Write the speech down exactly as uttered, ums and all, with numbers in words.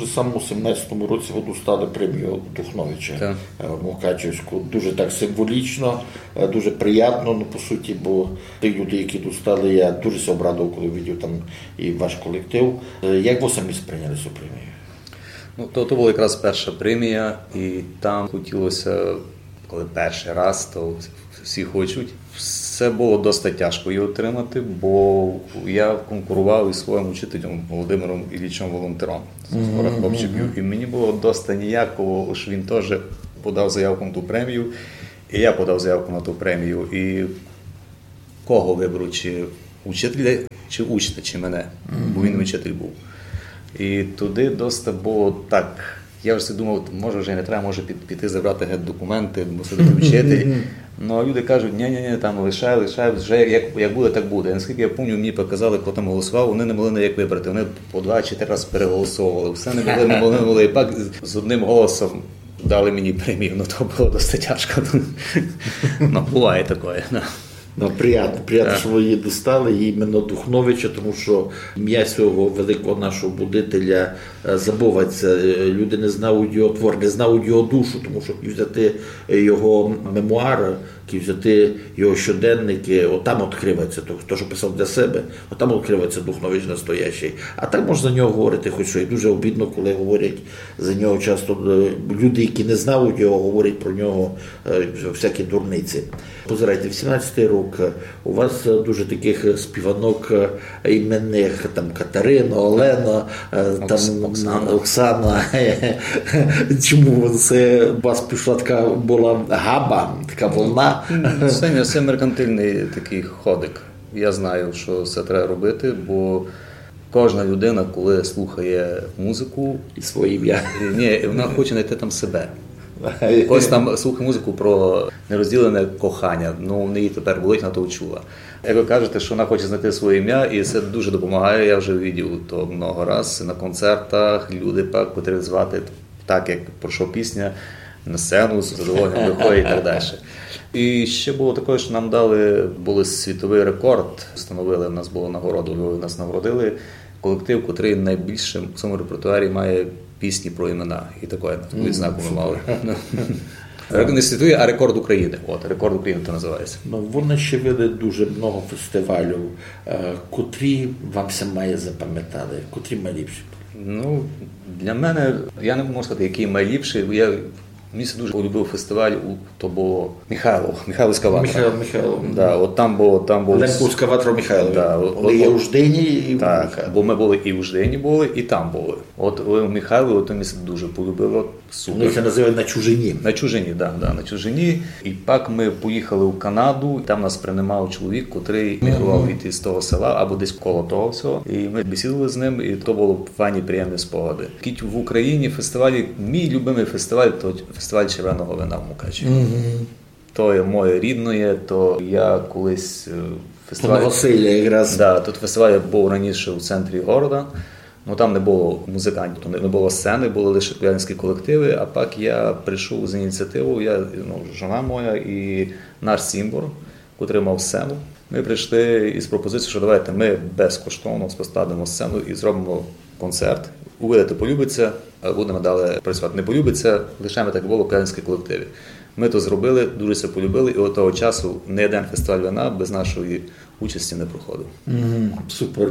Саме у сімнадцятому році вы достали премію Духновича, е, Мукачевську. Дуже так символічно, е, дуже приємно, ну, по суті, бо ті люди, які достали, я дуже ся обрадовав, коли видів там і ваш колектив. Е, як вы самі сприйняли цю премію? Ну, то, то была якраз перша премія, і там хотілося, коли перший раз, то всі хочуть. Все было доста тяжко її отримати, бо я конкурував із своїм учителем Володимиром Іллічем Волонтером з Гороховчиків. І мені было доста ніяково, ож він теж подав заявку на ту премію, і я подав заявку на ту премію. І кого виберу, чи учителя, чи учня, чи мене, бо він учитель був. І туди доста было так. Я вже думав, може вже не треба, може під, піти забрати геть документи, бо все-таки учитель. Ну, а люди кажуть, ні, ні, ні, там лишай, лишай, вже як, як буде, так буде. Наскільки я пам'ятаю, мені показали, хто там голосував, вони не могли ніяк вибрати. Вони по два чи три рази переголосовували. Все не могли, не могли, не могли. І пак з, з одним голосом дали мені премію, ну то было досить тяжко. Ну, буває такое, да. Ну, приємно, приємно, що вы її достали, і іменно Духновича, тому що ім'я цього великого нашого будителя е, забувається. Е, Люди не знають його твор, не знають його душу, тому що взяти його мемуари, взяти його щоденники, от там відкривається, то, то, що писав для себе, от там відкривається Духнович настоящий. А так можна за нього говорити хоч що. І дуже обідно, коли говорять за нього часто е, люди, які не знають його, говорять про нього е, всякі дурниці. Позирайте, вісімнадцятий рік, е, у вас е, дуже таких співанок е, іменних, там Катерина, Олена, е, там Окс-, Оксана. Оксана. Чому це у вас пішла така была габа, така волна? Це, не- це меркантильний такий ходик. Я знаю, що це треба робити, бо кожна людина, коли слухає музику, І своє ім'я. Ні, вона хоче знайти там себе. Хтось там слухає музику про нерозділене кохання, ну в неї тепер болить, вона то чула. Як ви кажете, що вона хоче знайти своє ім'я, і це дуже допомагає, я вже видів то много раз на концертах, люди, пак, котрих звати так, як пройшла пісня, на сцену з задоволенням виходять і так далі. І ще було таке, що нам дали, були світовий рекорд, встановили, в нас була нагорода, у Львові нас нагородили. Колектив, котрий найбільше в своєму репертуарі має пісні про імена. І такое відзнаку ми мали. Рек- Не світовий, а рекорд України. От, рекорд України то називається. Ну, вы нащивили дуже много фестивалів. Е, Котрі вам ся має запам'ятали? Котрі найліпші? Ну, для мене, я не можу сказати, який найліпший, бо я, мені ся дуже полюбив фестиваль, у- то було Михайло, Михайловська ватра. Михайло, Михайло. Да, от там було, там було Лемковська ватра Михайло. Да, от- Вони є от- у Ждині і в Так, Михайло. Бо ми були і в Ждині були, і там були. От у Михайло, от мені ся дуже полюбило. Супер. Вони це називають на чужині. На чужині, да, да, на чужині. І пак ми поїхали в Канаду, там нас приймав чоловік, котрий мігрував від із того села або десь коло того всього. І ми бесідували з ним, і то було файні, приємні спогади. Кіть в Україні фестивалі, мій любимий фестиваль, то фестиваль червеного вина в Мукачеві. То є моє рідне, то я колись е, фестиваль. Новосилля якраз. Да, тут фестиваль був раніше у центрі города. Ну там не було музикантів, не, не було сцени, були лише колядинські колективи. А пак я прийшов з ініціативою, я, ну, жона моя і наш цімбор, котрий мав сцену. Ми прийшли із пропозицією, що давайте ми безкоштовно поставимо сцену і зробимо концерт. Увидите, полюбиться, а будемо далі працювати. Не полюбиться, лишаємо так, як було в колядинській колективі. Ми то зробили, дуже ся полюбили, і від того часу ні один фестиваль вина без нашої участі не проходив. Мгм, супер.